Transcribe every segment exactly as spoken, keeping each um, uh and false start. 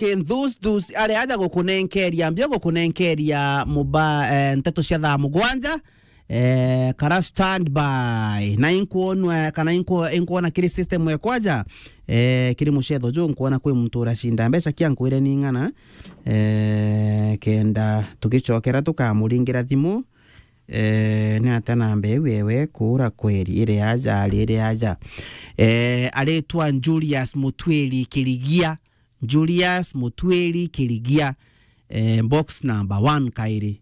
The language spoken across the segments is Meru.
Kinthuthus ari aja gukunenkeria mbio, gukunenkeria muba, eh, nteto cia thaa mugwanja. Eh, kara standby. Na inkwonwa, kana inkwo-, inkwona kiri system ekwaja, eh, kiri mucetho ju, nkwona kwi muntu uracinda mbeca kia nkwire ni ng'ana, eh, kenda tugicokera tukamuringira thimu. Eh, ni atia namba iu ewe kuura kweri? Iri aja, ari iri aja. Eh, aritwa Julius Mutwiri Kirigia. Julius Mutwiri Kirigia. Eh, box number one kairi.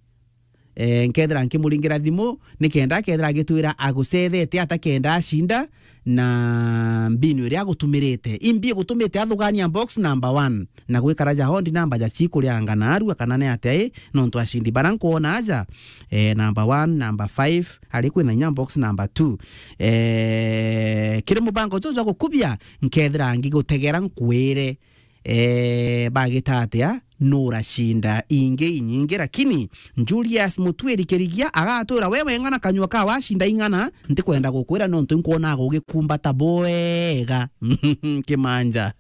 Eh, nkethira nkimuringira thimu, ni kenda akethira agitwira agucethete ata kenda acinda, na mbinu iria agutumirite. Imbi igutumite athugania box number one, na gwikara ja hondi namba ja cikuria ngana arua kana ni atia i, nontu acindi bara nkwona aja, eh, number one, number five, ari kwina inya box number two. Eh, kiri mubango juju jwa gukubia, nkethira ngigutegera nkwire, eh, bagita atia, nuracinda ingi inyingi, lakini Julius Mutwiri Kirigia agatwira we weng'ana kanyua ka wacinda ing'ana, ntikwenda gukwira nontu nkwona gugikumbata bwega. Kimanja.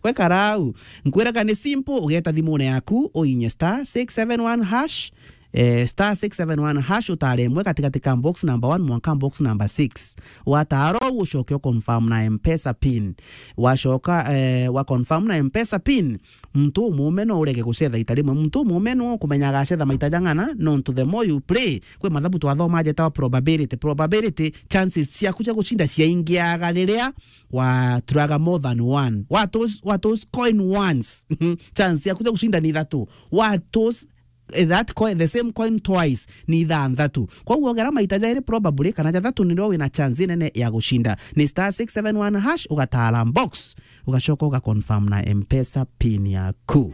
Gwe karau, nkwiraga ni simple, ugeta thimune yaku, uinye star six seven one hash, eh, star six seven one hash, utare imwe katikati ka box number one mwanka box number six. Watara uu ucoke u confirm na M-Pesa pin. Wacoka, eh, wa confirm na M-Pesa pin, muntu umume no urege gucetha ita rimwe. Muntu umume no ukumenya agacetha maita jang'ana, nontu the more you play, kwi mathabu twathoma jetawa probability. Probability, chances ciaku cia gucinda ciaingiaga riria waturaga more than one. Wa toss, wa toss coin once, chance ciaku cia gucinda ni ithatu. Wa toss, eh, that coin, the same coin twice, ni ithanthatu. Koguo ogera maita jairi probably kana jathatu nirio wina chance nene ya gucinda. Ni star six seven one hash, ugatara box, ugacoka uga confirm na M-Pesa pin yaku.